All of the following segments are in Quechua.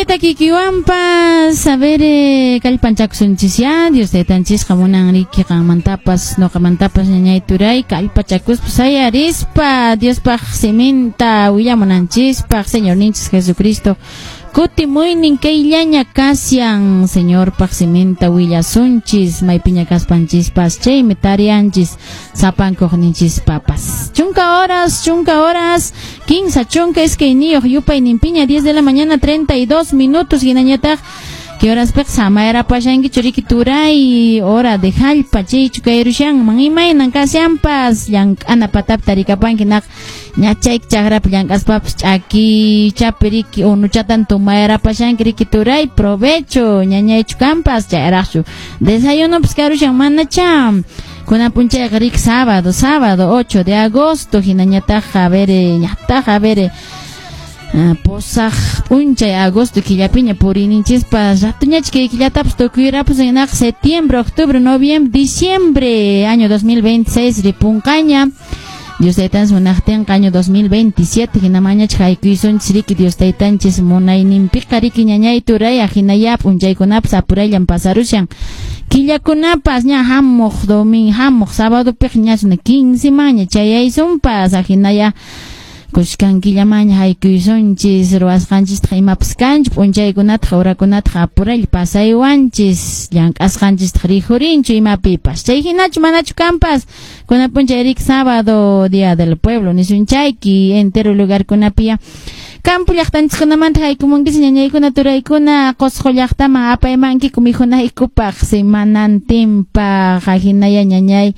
Chay takikiwanpas, a ver, kallpanchakusunchis ya, Dios taytanchisqa munan riki qanmantapas, ñuqamantapas, ñañay turay, kallpachakuspa sayarispa Diospaq siminta willamunanchispaq. Señorninchis Jesucristo kutimuynin kayllaña kashan. Señorpaq siminta willasunchis maypiña kaspanchispas, chaymi tarianchis sapankuqninchispapas. Chunka horas, 10 horas 32 yupayninpiña, 10 de la mañana 32 minutos. Hinañataq, ¿qué horas piq samayrapashankichu riki turay? Hora de jallpa chaychu kayrushanman? Imaynan kashanpas llank'ana patapi tarikapanki naq ñachayki chakrapi llank'aspapas ch'akichapi riki unuchatan tumayrapashanki riki turay? Provecho, ñañaychu kanpas, chayraqchu desayunopas karushan manacha? Kunan p'unchayqa riki sábado, sábado 8 de agosto, hinañataq, a ver, ñataq, a ver, pusaq p'unchay agosto killapiña puriyninchispas. Ratuñachi kay killatapas tukuyrapas, hinaqa septiembre, octubre, noviembre, diciembre, año 2026 ripunqaña. Dios taytanchis munaqtinqa año 2027 hinamañach haykuysunchis riki, Dios taytanchis munayninpiqa riki, ñañay turay. Ahinaya p'unchaykunapas apurayllan pasarushan, killakunapas. Ña hamuq domingo, hamuq sábadopiqa ñasuna 15 maña chayaysunpas. Ahinaya kushkan killamaña haykuysunchis, ruwasqanchistaq imapas kanchu. P'unchaykunataq horakunataq apuraylla pasaywanchis, llank'asqanchistaq rikhurinchu imapipas. Chay hinachu manachu kanpas? Kunan p'unchay riki sábado, día del pueblo nisunchayki, entero lugarkunapiya. Campo llaqtanchiskunamanta haykumunkis, ñañaykuna turaykuna, Qusqu llaqtaman apaymankiku mikhunaykupaq semanantinpaq. Ahinaya, ñañay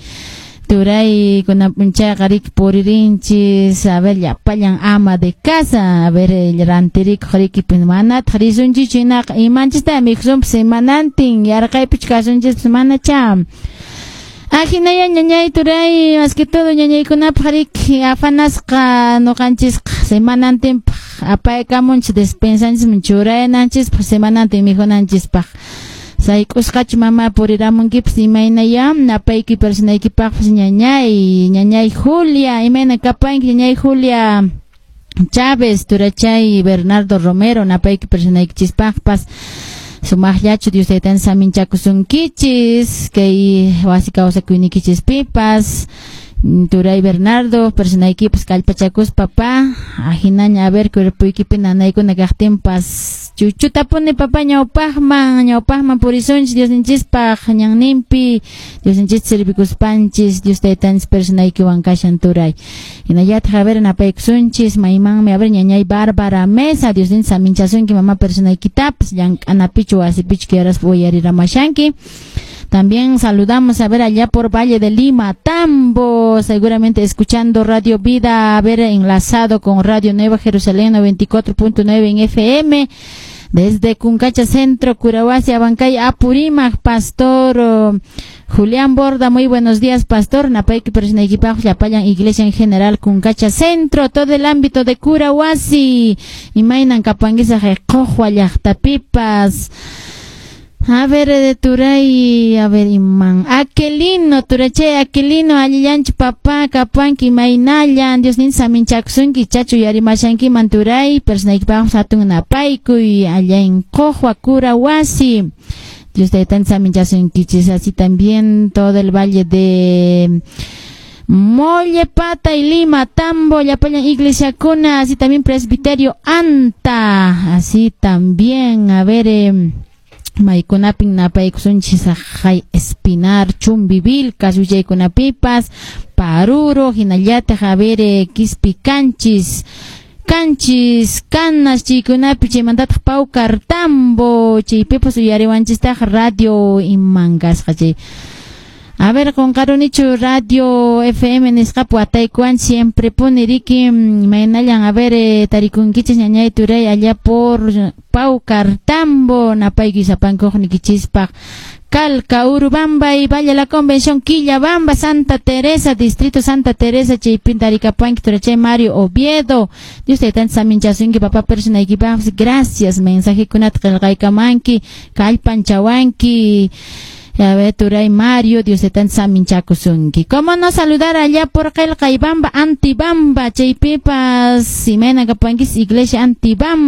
turay, kunan p'unchayqa riki puririnchis, a ver, llapallan ama de casa, a ver, rantirikuq riki, manataq risunchichu. Hinaqa imanchista mikhusunpas semanantin? Yarqaypichu kasunchispas manacha? Ahinaya, ñañay turay, más que todo ñañaykunapaq riki afanasqa ñuqanchisqa semanantinpaq apaykamunchis despensanchisman churaynanchispaq semanantin mikhunanchispaq. Sayk'usqachu, mama, puriramunkipas? Imaynaya napayki personaykipaqpas, ñañay Julia? Imayna kapanki, ñañay Julia Chávez, turachay Bernardo Romero? Napayki personaykichispaqpas. Sumaqllachu Dios taytan saminchakusunkichis kay wasi kawsakuynikichispipas? Turay Bernardo, personaykipas kallpachakuspa, papá, ahinaña, a ver, cuerpoykipi nanaykuna kaqtinpas chuchutapuni, papá, ñawpaqman, ñawpaqman purisunchis Diosninchispaq ñanninpi, Diosninchista servikuspanchis. Dios taytanchis personaykiwan kashan, turay. Hinallataq, a ver, napaykusunchis maymanmi, a ver, ñañay Bárbara Mesa, Diosninchis saminchasunki, mama, personaykitapas, llank'anapichu wasipichu quieras uyariramashanki. También saludamos, a ver, allá por Valle de Lima, Tambo, seguramente escuchando Radio Vida, a ver, enlazado con Radio Nueva Jerusalén 94.9 en FM. Desde Cuncacha Centro, Curahuasi, Abancay, Apurímac, Pastor Julián Borda, muy buenos días, Pastor. Napayki personaykipaq, llapallan iglesia en general, Cuncacha Centro, todo el ámbito de Curahuasi. Imaynan kapanguisa Qojwa llaqtapipas? A ver, de turay, a ver, iman. Aquilino, turachay, Aquilino, allillanchu, papá, kapanki, maynallan, Dios nin saminchakusunki, chachu yarimashanki man, turay, personaykipaq hatun napaykuy, allá en Qojwa, Curahuasi. Dios taytan saminchasunkichis, así también todo el valle de Mollepata y Lima, Tambo, llapallan Iglesia Cuna, así también Presbiterio Anta, así también, a ver, maykunapin napaykusunchis haqay Espinar, Chumbivilcas, willaykunapipas, Paruro, hinallataq, a ver, Quispicanchis, Canchis, Canas, chaykunapi, chaymantataq Paucartambo, chaypipas uyariwanchistaq radio iman kasqa chay. A ver, qunqarunichu radio FM nisqapi wataykuwan siempre puni riki? Maynallan, a ver, tarikunkichis, ñañay turay, allá por Paucartambo, napayki sapankuqnikichispaq. Calca, Urubamba y Valle la Convención, Quillabamba, Santa Teresa, Distrito Santa Teresa, chaypin tarikapanki, turachay Mario Oviedo. Dios taytan saminchasunki, papá, personaykipaqpas. Gracias, mensajekunata qillqaykamanki, kallpanchawanki. A ver, turay Mario, Dios taytan saminchakusunki. ¿Cómo no saludar allá por Qelqaybamba, Antibamba, chaypipas, imayna kapankis, Iglesia Antibamba?